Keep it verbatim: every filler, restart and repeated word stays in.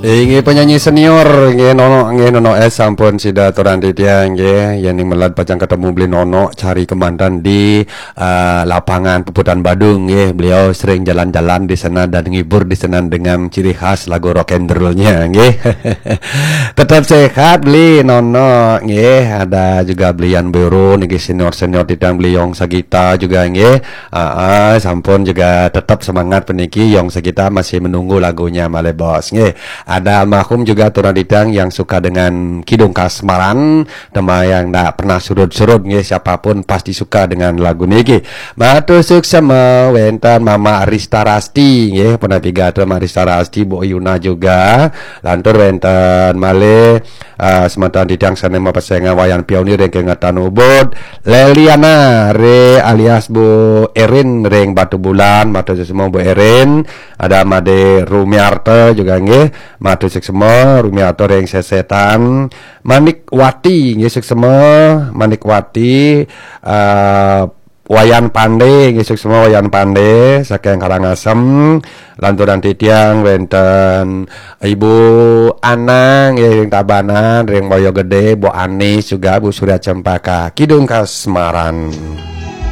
Inggih penyanyi senior, inggih Nono, inggih Nono S sampun sida aturang titiang, inggih. Yen ning meled pacang ketemu beli Nono cari kemanten di eh, lapangan Puputan Badung, inggih. Beliau sering jalan-jalan di sana dan ngibur di sana dengan ciri khas lagu rock and roll-nya, inggih. Tetap sehat beli Nono, inggih. Ada juga beli Yan Bero niki senior-senior titiang beli Yong Sagita juga, inggih. Ah, ah, sampun juga tetap semangat peniki Yong Sagita masih menunggu lagunya malih bos, inggih. Ada almarhum juga aturang titiang yang suka dengan Kidung Kasmaran, tema yang ndak pernah surut-surut, nggih, siapapun pasti suka dengan lagu niki. Matur suksema wenten Mama Arista Rasti, nggih, pun pigatur Mama Arista Rasti, Bu Yuna juga. Lantur wenten malih eh, semeton titiang sane mapesengan Wayan Pionir ring Kengetan Ubud, Leliana re alias Bu Erin ring Batubulan, matur suksema Bu Erin. Ada Made Rumiarta juga, nggih. Matur suksema Rumiarta ring Sesetan. Manikwati, nggih, suksema Manikwati, eh, Wayan Pande, nggih, suksema Wayan Pande saking Karangasem. Lanturang titiang wenten Ibu Anang, nggih, ring Tabanan, ring Boyo Gede, Bu Anis juga, Bu Surya Cempaka, Kidung Kasmaran.